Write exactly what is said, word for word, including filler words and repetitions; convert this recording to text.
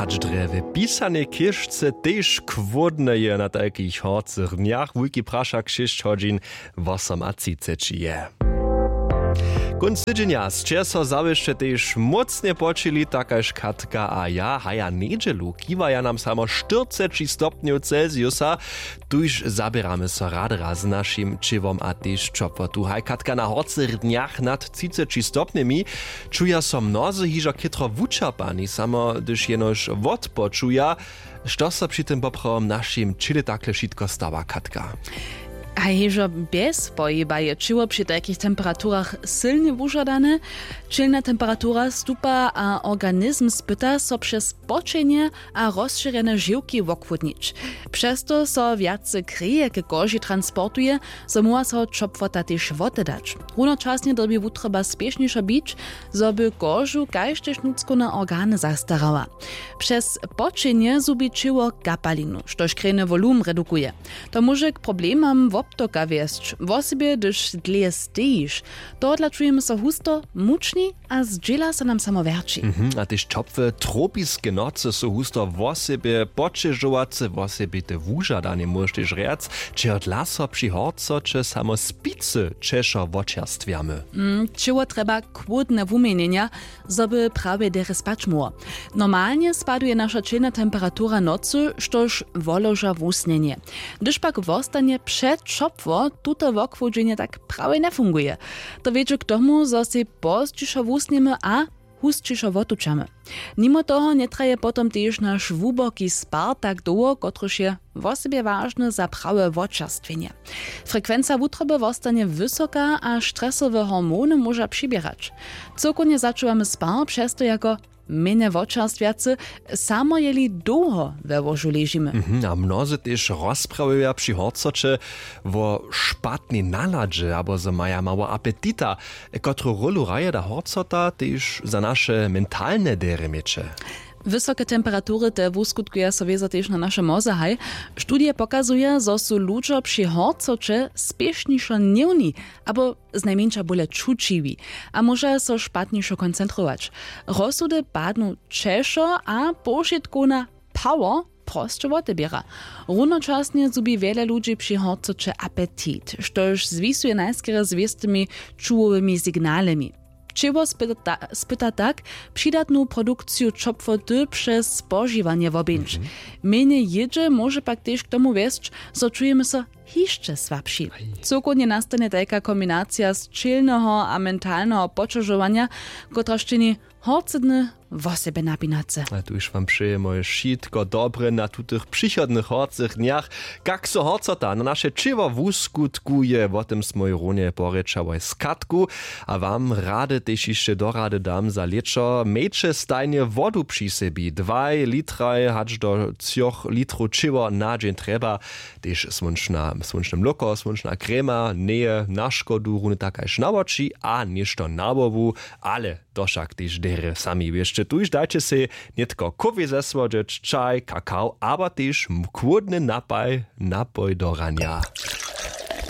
Hač drje w pisanej chěžce tež chłódne je na tajkich horcych dnjach, wulki prašak šěsć hodźin wosom a třiceći je. Kónc tydźenja sće so zawěsće tež mócnje počili, takaž Katka a ja. Haja njedźelu kiwaja nam samo štyrceći stopnjow celsiusa. Tuž zaběramy so rady raz z našim ćěłom a tež ćopłotu. Haj Katka, na horcych dnjach nad třiceći stopnjemi čuja so mnozy hižo chětro wučerpani, samo hdyž jenož wotpočuja. Što so při tym poprawom našim ćěle takle wšitko stawa, Katka? A hižo bjez pohiba je ćěło při tajkich temperaturach sylnje wužadane. Ćělna temperatura stupa a organizm spyta so přez poćenje a rozšěrjene žiwki wochłódnić. Přez to so wjace kreje k koži transportuje, zo móhła so ćopłota tež wotedać. Runočasnje dyrbi wutroba spěšnišo bić, zo by kožu kaž tež nutřkowne organy zastarała. Přez poćenje zhubi ćěło kapalinu, štož krejny wolum redukuje. To móže k problemam wobtoka wjesć, wosebje hdyž dlě stejiš. Tohodla čujemy so husto, mučni a zdźěla so nam samo wjerći. Mhm, a tež ćopłe tropiske nocy su husto wosebje poćežowace, wosebje te wužadanje, móžeš tež rjac. Čehodla so při horcoće samo spicy ćešo wočerstwjamy? Mm, ćěło trjeba chłódne wuměnjenja, zo by prawje derje spać móhło. Normalnje spaduje naša ćělna temperatura nocy, štož woloža wusnjenje. Hdyž pak wostanje přećopło, tuto wochłódźenje tak prawje njefunguje. To wjedźe k tomu, zo sej pozdźišo wusnjemy a husćišo wotučamy. Nimo toho njetraje potom tež naš hłuboki spar tak dołho, kotryž je wosebje wažny za prawe wočerstwjenje. Frekwenca wutroby wostanje wysoka a stresowe hormony móža přiběrać. Cyłkownje začuwamy spar přez to jako mjenje wočerstwjacy, samo jeli dołho we łožu ležimy. Mhm, a mnozy tež rozprawuja při horcoće wo špatnej naladźe abo zo maja mało apetita. Kotru rólu hraje ta horcota tež za naše mentalne derje měće? Wysoke temperatury te wuskutkuja so wězo tež na naše mozehaj. Studije pokazuja, zo su ludźo při horcoće spěšnišo hněwni abo znajmjeńša bóle čućiwi a móža so špatnišo koncentrować. Rozsudy padnu ćešo a powšitkowna power prosće woteběra. Runočasnje zhubi wjele ludźi při horcoće apetit, štož zwisuje najskerje z wěstymi čuwowymi signalemi. Ćěło spyta, spyta tak přidatnu produkciju ćopłoty přez spožiwanje wobjeńć. Mjenje jědźe móže pak tež k tomu wjesć, zo čujemy so hišće słabši. Cyłkownje nastanje tajka kombinacija sćělneho a mentalneho poćežowanja, kotraž čini horcydny wosebje napinace. A tuž wam přejemoj wšitko dobre na tutych přichodnych horcych dnjach. Kak so horcota na naše ćěło wuskutkuje, wo tym smoj runje porěčałoj z Katku. A wam rady tež hišće do rady dam za lěćo: mějće stajnje wodu při sebi, dwaj litraj hač do třoch litrow ćěło na dźeń trjeba. Tež słónčna słónčne mlóko, słónčna krema njeje na škodu, runje tak kaž na woči a něšto na hłowu. Ale to wšak tež derje sami wěsće. Tuž dajće sej nětko kowě zesłodźeć, čaj, kakao abo tež chłódny napaj, napoj do ranja.